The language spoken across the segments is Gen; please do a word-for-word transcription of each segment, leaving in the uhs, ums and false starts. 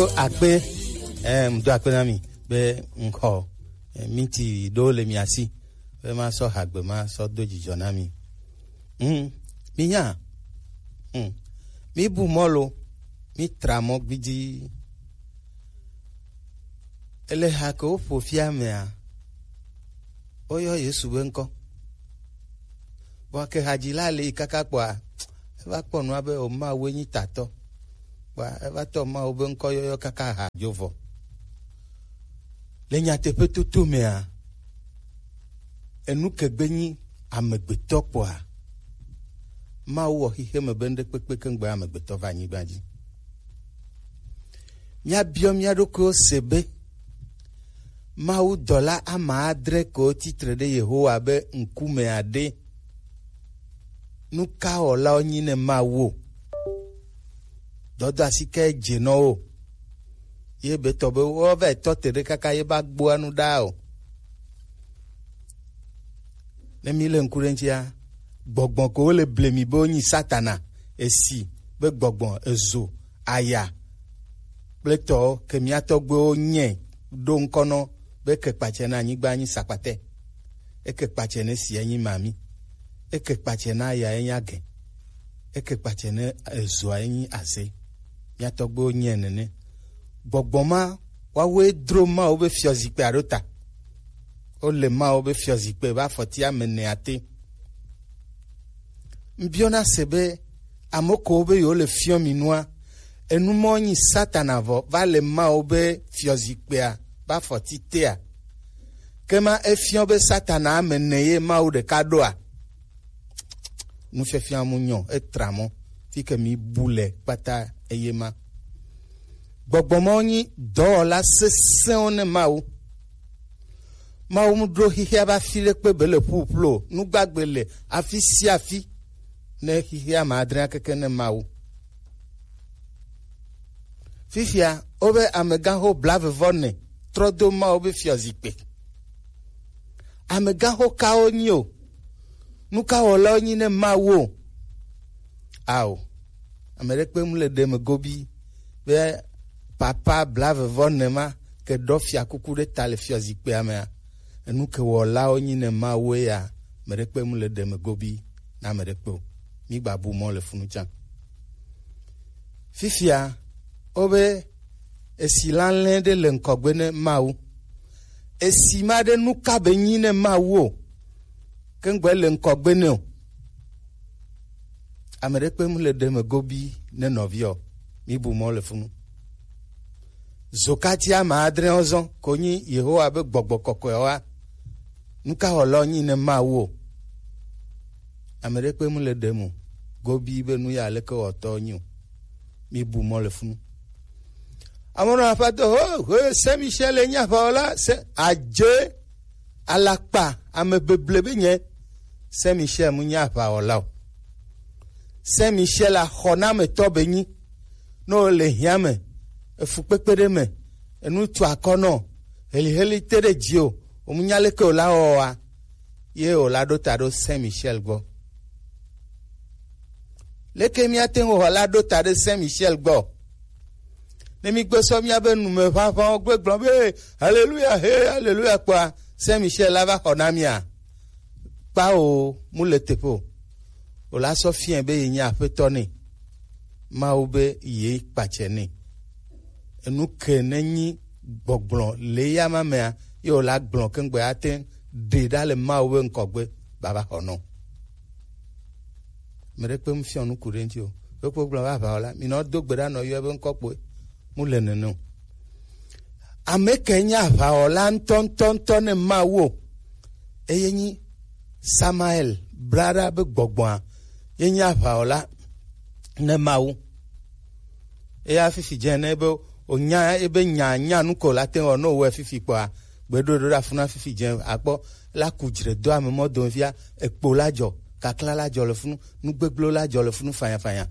Do akpe, eh, do akpe na mi be ŋkɔ, eh, miti ɖo le mia si be ma sɔ hagbe ma sɔ do dzidzɔ na mi. Mm, mi nya, mm, mi bu mɔ lo, mi tra mɔ gbidi. Ele ha ke wo ƒo fia mea, woyɔ Yesu be ŋkɔ. Vɔ ke hadzila le yi kaka kpɔa, eva kpɔ nua be o Mawu enyi tatɔ. Kpɔa eva tɔ Mawu be ŋkɔ yɔyɔ kaka ha dzo vɔ. Le nyateƒe toto mea, enu ke gbe nyi amegbetɔ kpɔa, Mawu wɔ xixeme be ŋɖekpekpe keŋgbe amegbetɔ va anyigba dzi. Míabiɔ mía ɖokuiwo se be, Mawu dɔla ame adre kewo titre ɖe Yehowa be ŋkumea ɖe, nu ka wɔlawo nyi ne Mawu o? Dɔdɔ asi ke dze nɔ wo. Ye be tɔ be wo va tɔ te ɖe kaka ye ba gboa nu ɖa o. Ne mi le ŋku ɖe ŋutia, gbɔgbɔ ko wo le ble mi be wonyi Satana, esi be gbɔgbɔ, ezo, aya kple tɔwo ke mía tɔgbuiwo nyɛ ɖo ŋkɔ nɔ be ke kpatsɛ na anyigba nyi sakpatɛ. Eke kpatsɛ ne sia nyi mami. Eke kpatsɛ na ya enyi agɛ. Eke kpatsɛ ne ezoa enyi aze. Mía tɔgbuiwo nyɛ nene. Gbɔgbɔ ma, woawoe dro Mawu be fiɔzikpea ɖo ta. Wole Mawu be fiɔzikpui be afɔti ame ene ate. Ŋbiɔna se be, ame kewo be yewo le fiɔ mi nua, enu mɔ nyi Satana vɔ va le Mawu be fiɔzikpuia be afɔti tea? Ke ma efiɔ be Satana ame ene ye Mawu ɖeka ɖoa? Nufiafia mu nyɔ, etra mɔ, fi ke mi bu le kpata eye ma. Gbɔgbɔ mawo nyi dɔwɔla sesẽwo ne Mawu. Mawu mu ɖo xixia be afi ɖekpe be le ƒuƒlu o. Nu gbagbe le afi sia afi ne xixia ame adre keke ne Mawu. Fifia, wobe amegãxo blaeve vɔ ene trɔ do Mawu be fiɔzikpui. Amegãxo kawo nyi o? Nu ka wɔlawo nyi ne Mawu o? Ao, ame ɖekpe mu le ɖe me gobi be papa blaeve vɔ ene ma ke ɖɔ fiakuku ɖe ta le fiɔzikpuia mea, enu ke wɔlawo nyi ne Mawu ya, ame ɖekpe mu le ɖe me gobi na ame ɖekpe o. Mi gba bu mɔ le funu tsã. Fifia, wobe esi lalẽ ɖe le ŋkɔgbe ne Mawu. Esi ma ɖe nu ka be nyi ne Mawu o, ke ŋgbe le ŋkɔgbe ne o. Ame ɖekpe mu le ɖe me gobi ne nɔviɔ, mi bu mɔ le funu. Zokati ame adre ɔzɔ ko nyi Yehowa be gbɔgbɔ kɔkɔe wa. Nu ka wɔlɔ nyi ne Mawu o? Ame ɖekpe mu le ɖe mu gobi be nu ya leke wɔtɔ nyi o. Mi bu mɔ le funu. Amono aƒetɔ ho ho Saint Michel enye aʋawɔla se adze alakpa ame beble be nye. Saint Michel mu nye aʋawɔla o. Saint Michel axɔnametɔ be nyi. Ne wole hiã me, efukpekpe ɖe me, enu tu akɔ nɔ, heliheli te ɖe dzi o, womunya leke wòla wɔwɔa, ye wòla ɖo ta ɖo Saint Michel gbɔ. Leke míate ŋu wɔ la ɖo ta ɖe Saint Michel gbɔ? Ne mígbe sɔ míabe numeʋaʋãwo gbe gblɔ be, "Haleluya, he, haleluya," kpɔa, Saint Michel la va xɔ na mía. Kpao, mu le teƒe o. Wòla sɔ fiɛ be ye nye aƒetɔ nɛ. Mawu be ye kpatsɛ nɛ. Enu ke ne nyi gbɔgblɔ le ya ma mea, ye wòla gblɔ keŋgbe ate ɖe ɖa le Mawu be ŋkɔgbe baba xɔ nɔ. Ame ɖe kpe mu fiɔ nuku ɖe ŋuti o. Ɖokpo gblɔ be aʋawɔla, mi nɔ do gbe ɖa nɔ yɔ be ŋkɔ kpoe. Mu le nene o. Ame ke nye aʋawɔla ŋutɔ, ŋutɔ, ŋutɔ ne Mawu o. Eye nyi Samael, blaɖa be gbɔgbɔa, ye nye aʋawɔla ne Mawu. Eya fifi dze ne be o nya, ebe nya, nya nu ko la te wɔ no wɔ fifi kpɔa, gbe ɖo ɖo ɖa funa fifi dze akpɔ la ku dzre do ame mɔ dome fia, ekpo la dzɔ, kakla la dzɔ le funu, nu gbegblẽ la dzɔ le funu fanya fanya.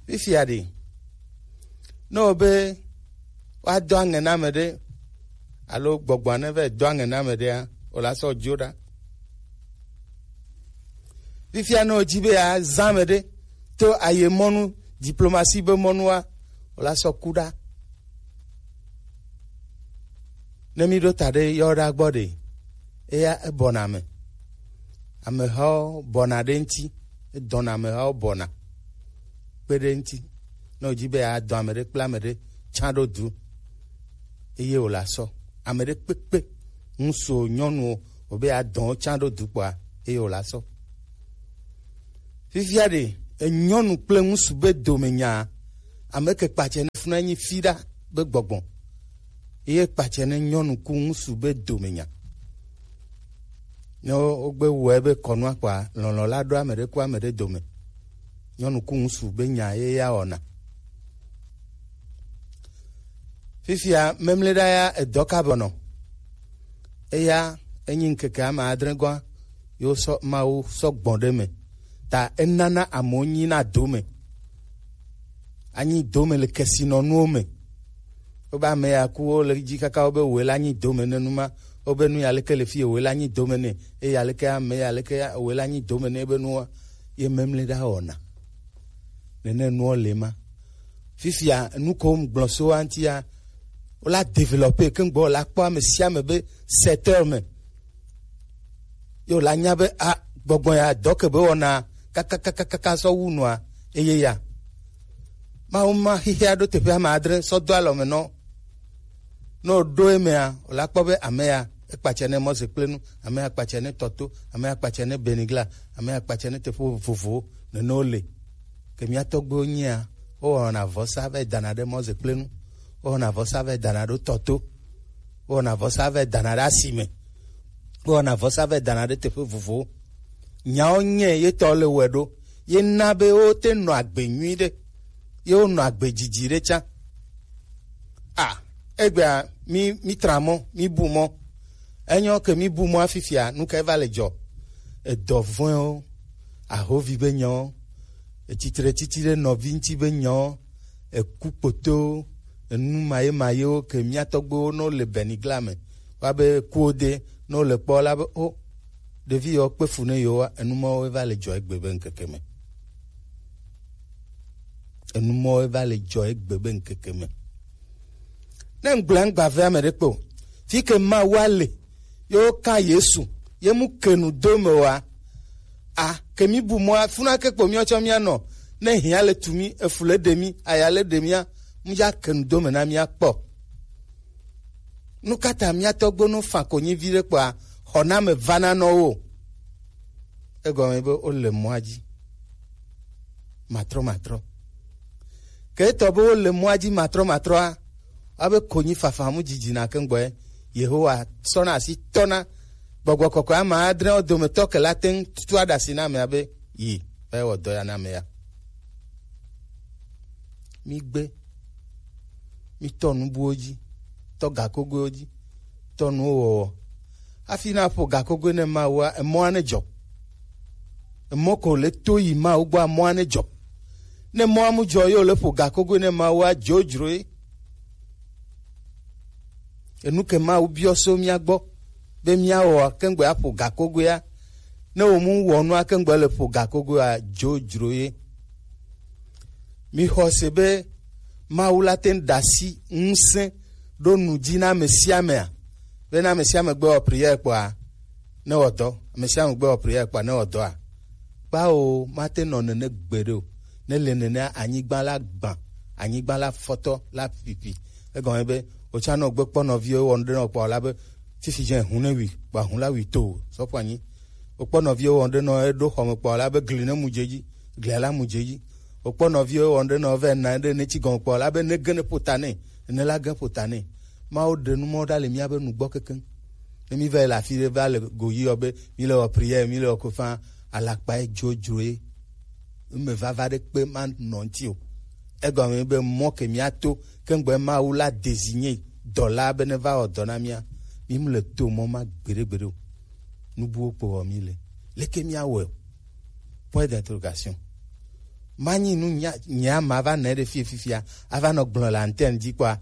Fifia ɖe, ne wòbe woadɔ aŋɛ na ame ɖe, alo gbɔgbɔa ne va dɔ aŋɛ na ame ɖea, wòla sɔ dzo ɖa. Fifia ne wòdzi be yeazã ame ɖe to aye mɔnu, diplomasi be mɔnua, Wola sɔ ku ɖa. Ne mi ɖo ta ɖe yɔ ɖa gbɔ ɖe, eya ebɔna me. Amehawo bɔna ɖe ŋti, edɔna amehawo bɔna kpe ɖe ŋti. Ne wòdzi be yeadɔ ame ɖe kple ame ɖe tsã ɖo du, eye wòle asɔ. Ame ɖe kpekpe, ŋutsuwo, nyɔnuwo, wòbe yeadɔ wo tsã ɖo du kpɔa, eye wòle asɔ. Fifia ɖe, enyɔnu kple ŋutsu be dome nya, ame ke kpatsɛ ne funa nyi fi ɖa be gbɔgbɔ. Eye kpatsɛ ne nyɔnu ku ŋutsu be dome nya. Ne wo-, wogbe wɔe be kɔnua kpɔa, lɔlɔ̃ la ɖo ame ɖe ku ame ɖe dome. Nyɔnu ku ŋutsu be nya ye ya wɔna. Fifia, memle ɖa ya edɔ ka bɔnɔ. Eya, enyi ŋkeke ame adre gɔa, yo sɔ, Mawu sɔ gbɔn ɖe me. Ta enana amewo nyi na dome. Anyi dome le kesinɔnuwo me. Wobe ame ya ku, wole dzi kaka wobe woe la nyi dome ne nu ma. Wobe nu ya leke le fi ye woe la nyi dome ne. Eye aleke ame ya leke ya woe la nyi dome ne ebe nuwa. Ye memle ɖa wɔna. Nene nuwo le ma. Fifia, nu ko ŋgblɔ so wa ŋtia, wola développer ke ŋgbɔ la kpɔ ame sia ame be secteur me. Yo la nya be a, gbɔgbɔ ya dɔ ke be wɔna kakakakaka sɔ wu nua, eye ya. Mawu ma xixia ɖo teƒe ame adre sɔ do alɔ me nɔ. Ne wòɖo emea, wòla kpɔ be amea, ekpatsɛ ne Mɔze kple nu, amea kpatsɛ ne Tɔto, amea kpatsɛ ne Benigla, amea kpatsɛ ne teƒe vovovowo, nene wole. Ke mía tɔgbuiwo nyia, wowɔna vɔsa va yi dana ɖe Mɔze kple nu, wowɔna vɔsa va yi dana ɖo Tɔto, wowɔna vɔsa va yi dana ɖe asime, wowɔna vɔsa va yi dana ɖe teƒe vovovowo. Nyawo nye ye tɔ le wɔe ɖo, ye na be wote nɔ agbe nyui ɖe, ye wonɔ agbe dzidzi ɖe tsã. A, egbea, mi, mi tra mɔ, mi bu mɔ. Enyo ke mi bu mɔ afifia, nu kae va le dzɔ? Edɔ vɔ̃ewo, ahovi be nyawo, etsitre tsitsi ɖe nɔvi ŋuti be nyawo, eku kpotowo, enu maye mayewo ke mía tɔgbuiwo no le Benigla me. Wa be kuwo de, no le kpɔ la be, o, ɖevi yewo kpe fu ne yewoa, enu mawo va le dzɔ egbe be ŋkeke me. Enu mawo va le dzɔ egbe be ŋkeke me. Ne ŋgblɔe ŋgba vɛ ame ɖe kpe o. Fi ke Mawu le, yewo ka Yesu, ye mu ke nu do me wa. A, ke mi bu mɔ, funa ke kpo miɔ tsɔ mia nɔ. Ne hia le tu mi, efu le ɖe mi, aya le ɖe mia, mu ya ke nu do me na mia kpɔ. Nu ka ta mía tɔgbo no fa konyi vi ɖe kpɔa, xɔname vana nɔ wo? Egɔme be wole mɔa dzi. Matrɔ, matrɔ. Ke etɔ be wole mɔa dzi matrɔ, matrɔa, abe konyi fafa mu dzidzi na ke ŋgbɔe. Yehowa sɔna asi tɔna. Gbɔgbɔ kɔkɔe ame adre wo dometɔ ke la te ŋu tutu aɖe asi na amea be, yi, va yi wɔ dɔ ya na ame ya. Migbe. Mitɔ nubuwo dzi, tɔ gakogoewo dzi, tɔ nuwo wɔwɔ. Hafi na ƒo gakogoe ne Mawua, emɔa ne dzɔ. Emɔ ko le to yi Mawu gbɔa, mɔa ne dzɔ. Ne mɔa mu dzɔ ye wòle ƒo gakogoe ne Mawua, dzodzroe. Enu ke Mawu biɔ so mía gbɔ be míawɔa, keŋgbe aƒo gakogoea. Ne wò mu wɔ nua, keŋgbe le ƒo gakogoea, dzodzro ye. Mixɔ se be Mawu la te ŋu ɖe asi ŋusẽ ɖo nu dzi na ame sia amea, be ne ame sia ame gbe wɔ prière kpɔa, ne wɔ dɔ. Ame sia ame gbe wɔ prière kpɔa, ne wɔ dɔa. Kpao, mate nɔ nene gbeɖe o. Ne le nenea, anyigba la gbã, anyigba la fɔtɔ la ƒiƒi. Egɔme be, wòtsa nɔ gbe kpɔ nɔviwo wɔ nu ɖe nɔ kpɔ la be, fifi dze hu ne wi, kpɔ hu la wi to, sɔƒo anyi. Wòkpɔ nɔviwo wɔ nu ɖe nɔ eɖo xɔme kpɔ la be, gli ne mu dze dzi, glia la mu dze dzi. Wòkpɔ nɔviwo wɔ nu ɖe nɔ vɛ na ɖe ne tsi gɔme kpɔ la be, ne ge ne ƒo ta nɛ, ne la ge ƒo ta nɛ. Mawu ɖe nu mɔ ɖa le míabe nugbɔ kekeŋ. Ne mi va yi le afi ɖe va le go yi yɔ be mi le wɔ prière, mi le wɔ kofa, alakpa ye dzodzro ye. Eme vava ɖe kpe ma nɔ ŋuti o. Egɔme be mɔ ke mía to, keŋgbe Mawu la désigné dɔla be ne va wɔ dɔ na mía, mi mu le to mɔ ma gbeɖe gbeɖe o. Nubuwo kpo wɔ mi le. Leke mía wɔe o? Point d'interrogation. Manyi nu nya, nya ma va nɛ ɖe fie fifia, ava nɔ gblɔ le antenne dzi kpɔa,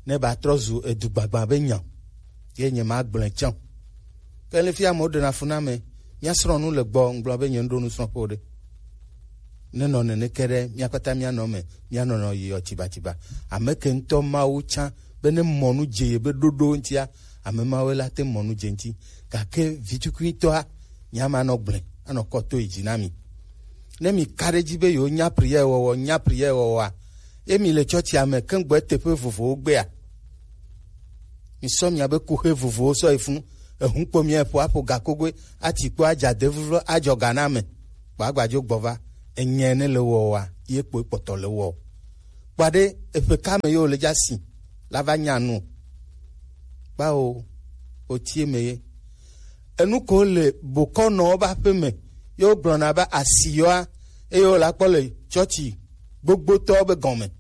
ne ba trɔ zu edu gbagba be nya. Ye nye ma gblɔe tsã. Ke le fia amewo ɖena fu na ame, mía srɔ̃ nu le gbɔ, ŋgblɔ be nye ŋɖo nu srɔ̃ ƒe o ɖe. Ne nɔ nene ke ɖe, mía kpata mía nɔ me, mía nɔnɔ yi ɔ tsibatsiba. Ame ke ŋutɔ Mawu tsã be ne mɔ nu dze ye be ɖoɖo ŋutia, ame mawo la te mɔ nu dze ŋuti. Gake vitukuitɔa, nya ma nɔ gblẽ, anɔ kɔ to yi dzi na mi. Ne mi ka ɖe dzi be yewo nya prière wɔwɔ, nya prière wɔwɔa, ye mi le tsɔtsia me keŋ gbɔ teƒe vovovowo gbea, mi sɔ mia be kuxe vovovowo sɔ yi funu, ehun kpo mia ƒo aƒo gakogoe, ati kpo adza de vuvlo adzɔ ga na me. Kpɔ agbadzo gbɔ va, enyae ne le wɔwɔa, ye kpoe kpɔtɔ le wɔ. Kpɔ ɖe eƒe ka me ye wòle dza si la va nya nu. Kpao, wòtie me ye. Enu ko le bokɔnɔwo be aƒe me ye wogblɔna be asi yɔa, eye wòle akpɔ le tsɔtsi gbogbotɔwo be gɔme.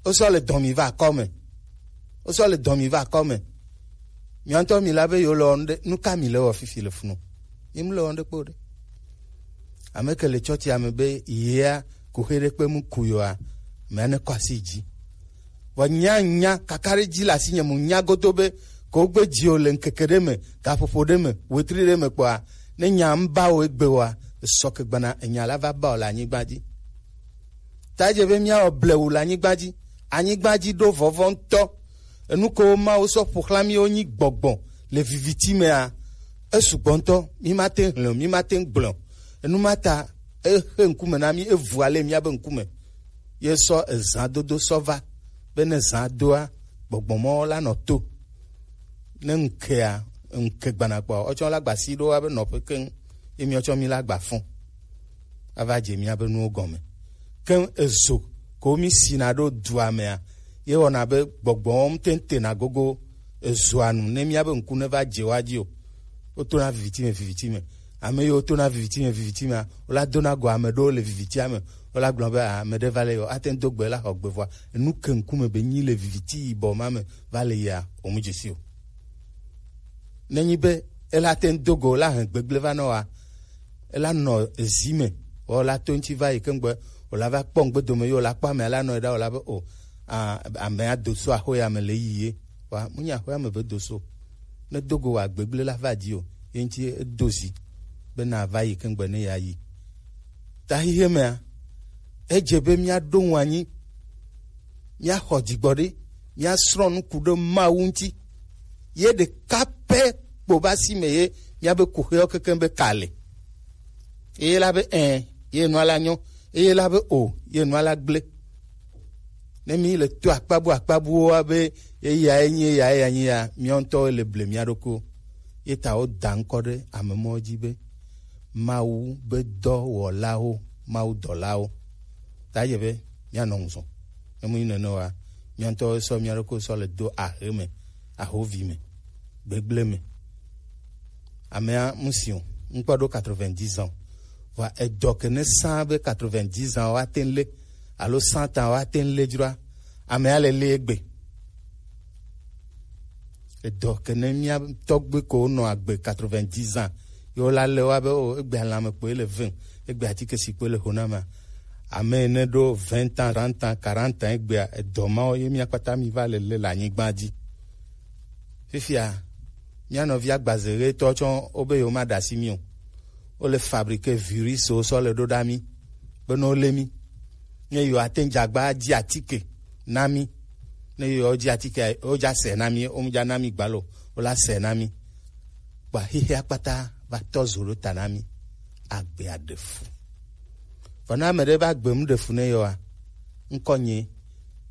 Wosɔ le dɔn mi va akɔ me. Wosɔ le dɔn mi va akɔ me. Mia ŋutɔ mi la be yewo le wɔnu ɖe, nu ka mi le wɔ fifi le funu? Mi mu le wɔnu ɖe kpo ɖe. Ame ke le tsɔtsia me be yea kuxe ɖe kpe mu ku yoa, mea ne kɔ asi dzi. Vɔ nya nya kaka ɖe dzi le asinye mu nya godo be ko gbe dzi o le ŋkeke ɖe me, gaƒoƒo ɖe me, wetri ɖe me kpɔa, ne nya ŋu ba o egbe oa, esɔ ke gbana enya la va ba o le anyigba dzi. Ta edze be míawɔ blewu le anyigba dzi. Anyigba dzi ɖo vɔvɔ ŋutɔ. Enu kewo Mawu sɔ ƒo xlã míwo nyi gbɔgbɔ le viviti mea, esugbɔ ŋutɔ. Mí mate ŋu hlẽ o, mí mate ŋu gblẽ o. Enu ma ta exe ŋkume na mí, evu ale míabe ŋkume. Ye sɔ ezã dodo sɔ va be ne zã doa, gbɔgbɔ mɔ la nɔ to. Ne ŋkea, ŋke gbana kpɔa, wotsɔ la gba si ɖo abe nɔƒe keŋ, ye míatsɔ mí la gba fɔ. Ava dze míabe nuwo gɔme. Ke ezo ko mí sina ɖo dua mea, ye wɔna be gbɔgbɔwo ŋutɔ tena gogo ezoa nu ne míabe ŋku ne va dze wa dzi o. Wotona viviti me, viviti me. Ame yiwo tona viviti me, viviti mea, wola dona go ame ɖewo le vivitia me. Wola gblɔ be, "Ah, ame ɖe va le yɔ, ate ŋu do gbe la xɔ gbe vɔa." Enu ke ŋkume be nyi le viviti yibɔ ma me va le yia, o mu dzesi o. Nenyi be ela te ŋu do go la hɛn gbegble va nɔ wa, ela nɔ ezi me, wɔ la to ŋuti va yi keŋgbe, wòla va kpɔ ŋgbe dome ye wòla kpɔ amea la nɔ yi ɖa wòla be o, a, amea do so axo ya me le yi ye. Wa mu nya axo ya me be do so. Ne do go wa gbegble la va di o, ye ŋuti edo zi be na va yi keŋgbe ne ya yi. Ta xexe mea, edze be míaɖo ŋu anyi, míaxɔ dzigbɔɖi, míasrɔ̃ nu ku ɖe Mawu ŋuti. Ye ɖeka pɛ kpo be asi me ye míabe kuxewo kekeŋ be ka le. Eye la be ẽ, ye nua la nyɔ. Eye la be o, ye nua la gblẽ. Ne mí le to akpabu akpabuwo wa be eyae nyi, eyae ya nyi ya, míawo ŋutɔwo le ble mía ɖokuiwo. Ye ta woda ŋkɔ ɖe ame mɔwo dzi be Mawu be dɔwɔlawo, Mawu dɔlawo. Ta dze be míanɔ ŋu zɔn. Ne mu nyi nene oa, mía ŋutɔwo sɔ mía ɖokuiwo sɔ le do ahe me, ahovi me, gbegble me. Amea mu si o, ŋkpɔ ɖo quatre-vingt-dix ans. Vɔa edɔ ke ne sã be quatre-vingt-dix ans wa te ŋu lé, alo cent ans wa te ŋu lé dzroa, amea le lé egbe. Edɔ ke ne mía tɔgbe ko nɔ agbe quatre-vingt-dix ans, yo la le wa be o, egbe alame kpoe le vem, egbe atike si kpoe le ho na ma. Ame ne ɖo vingt ans, trente ans, quarante ans egbea, edɔ mawo ye mía kpata mi va le le le anyigba dzi. Fifia, mía nɔvi agbaze ɣetɔ tsɔ wo be yo ma ɖe asi mi o. Wo le fabriquer virus wo sɔ le ɖo ɖa mi. Be ne wo lé mi. Ne yo ate ŋu dze agba dzi atike na mi. Ne yo dzi atike, wo dza se na mi, wo mu dza na mi gbalo, wo la se na mi. Kpa xixia kpata va tɔ zo ɖo ta na mi. Agbe aɖe fu. Vɔ ne ame ɖe va gbe mu ɖe fu ne yɔa, ŋkɔ nye,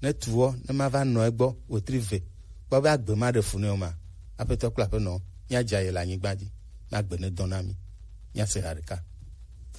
ne tu wɔ, ne ma va nɔ egbɔ, wetri ve, kpɔ be agbe ma ɖe fu ne o ma. Aƒetɔ kple aƒenɔ, míadza ye le anyigba dzi, na gbe ne dɔn na mi. Míase ha ɖeka.